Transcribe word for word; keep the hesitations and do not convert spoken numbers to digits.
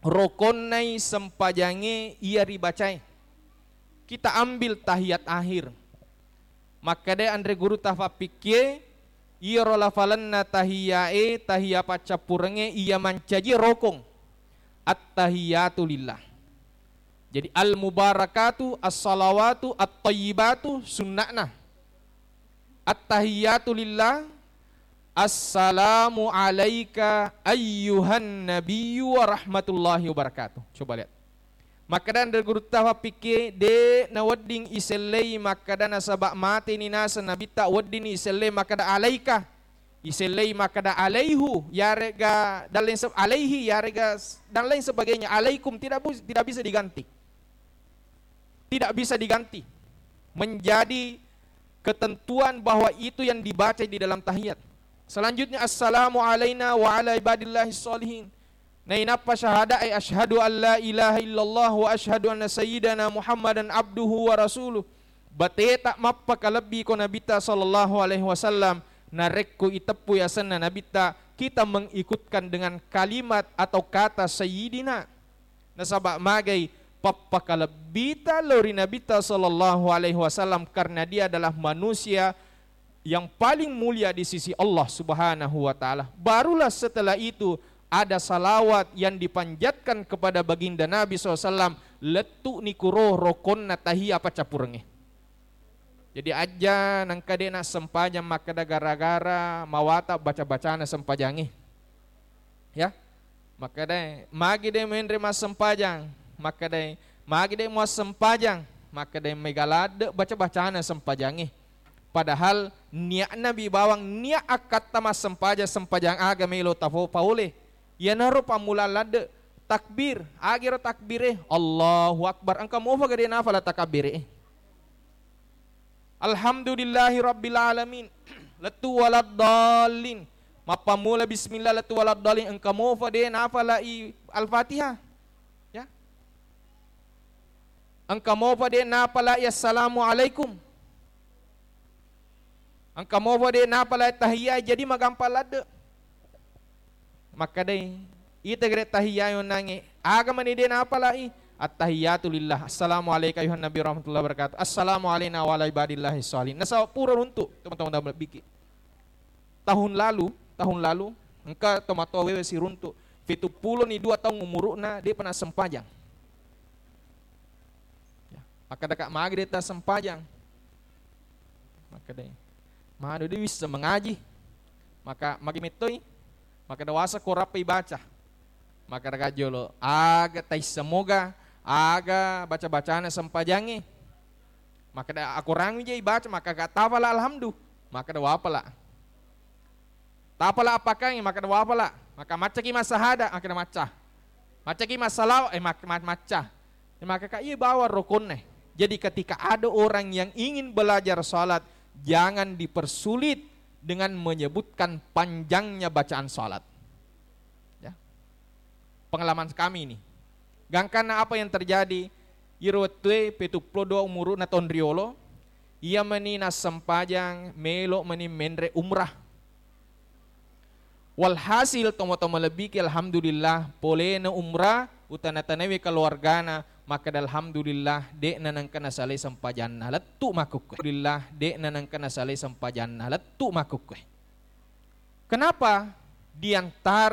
rokonnai sempajangnge iya ribacae. Kita ambil tahiyat akhir. Makkeda anre gurutta fappikkie, iyaro lafalenna tahiyae, tahiya paccappurengnge iya mancaji rokong. At-tahiyatu lillah. Jadi al-mubarakatu, as-salawatu, at-tayyibatu sunna'na. At-tahiyatu lillah. Assalamu alaika ayyuhan nabiyyu wa rahmatullahi wabarakatuh. Coba lihat. Makkeda anre gurutta fappikkie, de nawedding isellei makkeda nasaba mateni naseng nabitta, weddinni isellei makkeda alaika. Isellei makkeda alaihu, yarega dan lain se-, alaihi, yarega s-, dan lain sebagainya. Alaikum tidak bu-, tidak bisa diganti. Tidak bisa diganti. Menjadi ketentuan bahwa itu yang dibaca di dalam tahiyat. Selanjutnya, assalamu alaina wa ala ibadillahi sholihin. Nainappa syahadae, asyhadu an la ilaha illallah wa asyhadu anna sayyidana Muhammadan abduhu wa rasuluh. Bateta mappakalebbi ko Nabitta sallallahu alaihi wasallam, narekko iteppu yasenna Nabitta, kita mengikutkan dengan kalimat atau kata sayyidina. Nasaba magai pappakalebbita lao ri Nabitta sallallahu alaihi wasallam karena dia adalah manusia yang paling mulia di sisi Allah Subhanahu wa Ta'ala. Barulah setelah itu ada salawat yang dipanjatkan kepada baginda Nabi sallallahu alaihi wasallam, lettu'ni kuro rokonna tahiyya paccappurengnge. Jadi, ajja nengka de' nassempajang makkeda gara-gara mawata baca-bacana sempajangnge. Ya. Makkedai, magi de' menre massempajang? Makkedai, magi de' muassempajang? Makkedai, mega ladde' baca-bacana sempajangnge. Padahal niatna bi bawang niat akkatta massempajang, sempajang aga melo tafo-, paole. Iyanaro pammula ladde', takbir. Agiro takbire? Allahu Akbar. Engka mofa gede nafala takabire? Alhamdulillahi rabbil alamin. Lettu waladdallin. Mappammula bismillah lettu waladdallin. Engka mofa de' nafalai Al-Fatihah. Ya. Engka mofa de' nafalai assalamualaikum. Engka mofa de' nafalai tahiyya, jadi magampang ladde'. Makkedai, ita gere tahiyya yonnangnge, aga mani de' napalai? At-tahiyyatu lillah, assalamu alaika ayyuhan nabi warahmatullahi wabarakatuh, assalamu alaina wa ala ibadillahi sholihin. Nasaba pura runtu', teman-teman, dalam biki. Tahun lalu, tahun lalu, engka tomatoa wewe siruntu', fituppulo ni dua taung umuru'na, de'pa nassempajang. Ya, makkeda ka, magi de' tassempajang? Makkedai, manu de' wisseng mangaji. Maka magi mettoi? Makkeda, wasa ko rappai baca. Makkeda ka jolo, aga taissemoga aga baca-bacana sempajangnge. Makkeda, akorang mi je ibaca, makkeda, tafala alhamdu. Makkeda, wapala. Tapala appakangngi, makkeda wapala. Maka maccaki massahada, makkeda macca. Maccaki massalawa, eh, mak-, ma-, macca. Eh, maka ka iya bawang rokonne. Jadi ketika ada orang yang ingin belajar salat, jangan dipersulit dengan menyebutkan panjangnya bacaan salat. Ya. Pengalaman kami ini. Gangkanna apa yang terjadi? Iro wettue petuppulo dua umuru'na taung riolo, iya mani nassempajang, melo mani menre umrah. Walhasil, tomatoa malebbiki, alhamdulillah, polena umrah, utana-tanawi keluargana, makkeda, alhamdulillah, de'na nengka nasalai sempajanna, lettu' makkukkue. Alhamdulillah, de'na nengka nasalai sempajanna, lettu' makkukkue. Kenapa? Di antara